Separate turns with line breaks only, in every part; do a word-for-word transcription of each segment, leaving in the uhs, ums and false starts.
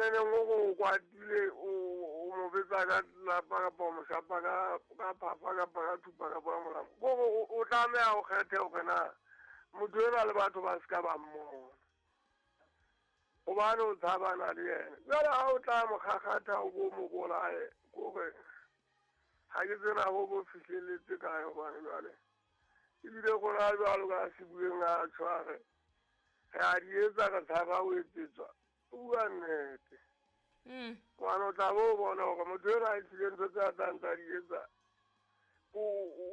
neneng o go kwatile o o mo betsa ka lapa kapa o mo shapa ka ka phapa kapa ka thupa kapa ka molamo. Kore o tlameha o kgethe hore na motho enwa le batho ba se ka ba mmona. Hobane o tshabana le yena. Jwale ha o tla mo kgakgatha o bo mo bolaye, kore ha ke tsena ho bo fihlelletse kae hobane jwale. Ebile rona jwalo ka sebueng a tshware. Re a di etsa re tshaba ho etsetswa. O bua nnete.
Mm.
Hobane o tla bo bona hore motho enwa a tlile ntho tse a tlang tsa di etsa. O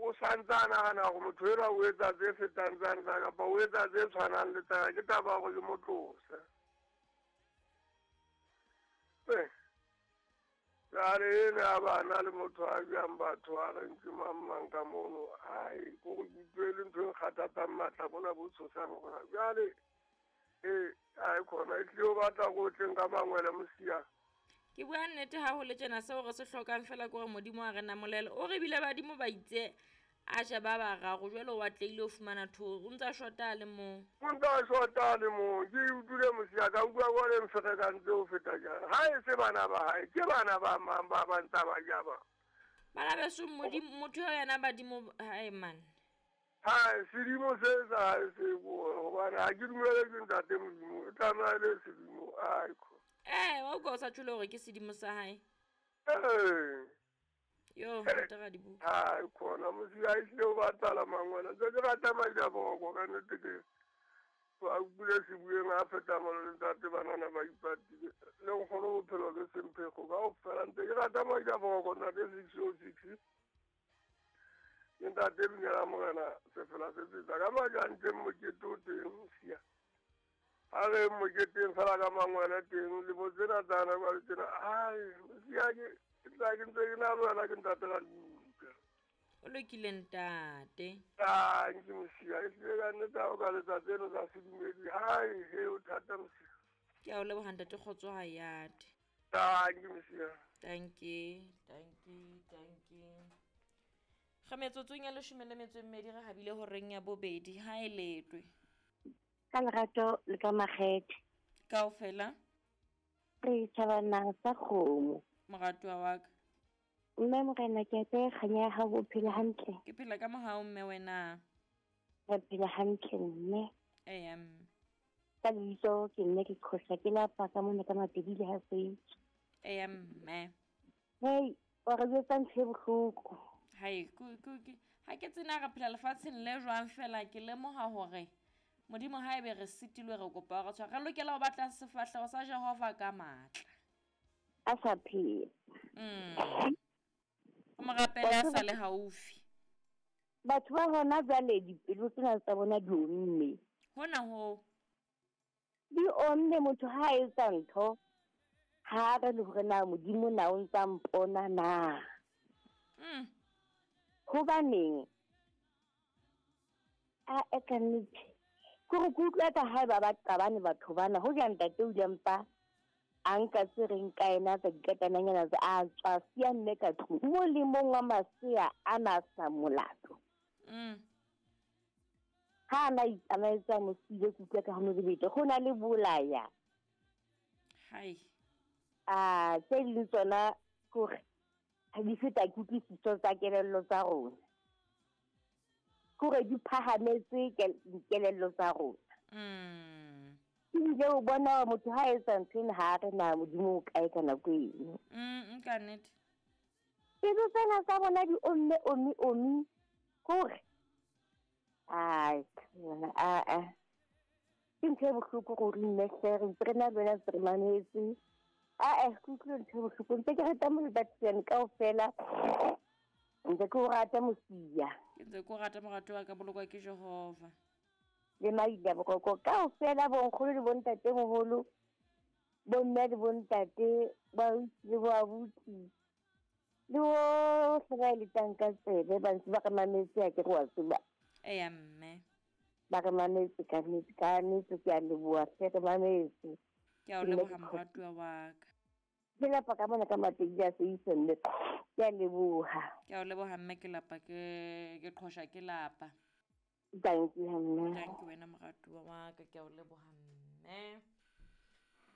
o santse a nahana hore motho enwa o etsa tse fetang tsane tsa kapa o etsa tse tshwanang le tsa ka, ke taba ya hore ke mo tlose. Eh. Jwale ena ya bana le motho a jang batho a reng ke mang mang ka mono. Ai, ko re ke utlwele ntho e nkgathatsang matla bona bo tshosang hore jwale eh ai khona e tlile o batla go tleng ka mangwele mosia.
Ke bua nnete ha ho le tjena seo re se hlokang fela ke hore Modimo a re namolele. O re bile badimo ba itse a je ba bararo jwale o atlehile ho fumana thoro. O ntsa shota a le mong.
O ntsa shota a le mong. Ke utlwile mosia ka utlwa kwa le mferekantse ho feta jana. Ha e se bana ba hae, ke bana ba mang ba ba ntsa ba ja ba.
Bana beso Modimo motho eo yena badimo hae man.
Hai, sedimo se sa hae se bua hobane ha ke dumele ke ntate Modimo. E tlameha e le sedimo. Ai kho.
Eh, wa utlwa o sa tjhole hore ke sedimo sa hae.
Eh.
Yo, ntate Radibuka.
Hai khona mosia e tlile o batala mangwele. Ntse ke rata madi a boroko ka nnete ke. Ba utlwile sebueng a feta molo le ntate banana ba ipatile. Le nkgono bophelo ke semphego kaofela ntse ke rata madi a boroko ntate six oh six. Ke ntate Binela Morena sefela se tsetsa ka madi a ntseng mokete o teng mosia. Ha re moketeng fela ka mangwele teng le bo tsena tsana ba le tsena. Ai, mosia ke ke tla ke ntse ke na le wena ke ntate Radibuka.
O lokile ntate.
Ah, ke mosia e tlile ka nnete ha o ka letsatsi eno tsa sedumedi. Hai, he o thata mosia.
Ke a o leboha ntate kgotso ha yate.
Ah, ke mosia.
Thank you, thank you, thank you. Ga metsotsong ya leshome le metso e mmedi re habile horeng ya bobedi ha e letwe.
Ka lerato le ka makgethe.
Kaofela.
Re thabana sa kgomo.
Moratuwa wa ka.
Mme morena ke a kganya ya hao o phela hantle.
Ke phela ka mohau mme wena.
Re phela hantle mme.
Eya mme.
Ka lebitso ke nne ke qhosa ke lapa ka mona ka Mapedi le ha Seitse.
Eya mme.
Hey, wa re jwetsa ntho e bohloko.
Hai, ku ku ke ha ke tsena re phela lefatsheng le jwang fela ke lemoha hore Modimo ha ebe re sitilwe re kopa re tshwara re lokela ho batla sefahleho sa Jehova ka matla.
A sa phela.
Mm. O mo rapele a sa le haufi.
Batho ba hona jwale dipelo tsena tsa bona di omme.
Hona ho.
Di omme motho ha a etsa ntho ha re le hore na Modimo na o ntsa mpona na.
Mm.
Hobaneng a e ka nnete ke re ke utlwa ka hae ba ba qabane batho bana ho ja ntate o ile mpa a nka tse reng ka ena tsa dikatananyana tsa a tswa siya mme ka tlung mo le mong wa masea a na sa molato.
Mm.
Ha na itsamaetsa mosile ke utlwa ka ho mobete go na le bolaya.
Hai.
A tse ding tsona kore ha di feta kutlwisiso tsa kelello tsa rona. Kore di phahametse kelello tsa rona.
Mm.
Ebile o bona motho ha etsa ntho ena ha re na Modimo o kae ka nako eno.
Mm, ka nnete.
Pelo tsena tsa bona di omme omme omme kore ai a a ke ntho e bohloko gore nne hle re ntse re na le wena ntse re mametse. A eh ke utlwile ntho e bohloko ntse ke rata molebatiane kaofela ntse ke o rata mosia.
Ke ntse ke o rata morato wa ka bolokwa ke Jehova.
Le maila boroko kaofela bonkgono le bontatemoholo bomme le bontate ba le bo abuti le bohle ba eletsang ka tsebe ba ntse ba re mametse ha ke re wa tseba.
Eya mme.
Ba re mametse ka nnete ka nnete ke a leboha hle re mametse.
Ke a o leboha moratuwa wa ka.
Ke lapa ka mona ka Mapedi a Seitse mme ke a leboha.
Ke a o leboha mme ke lapa ke ke qhosha ke lapa.
Thank you mme.
Thank you wena moratuwa wa ka ke a o leboha mme.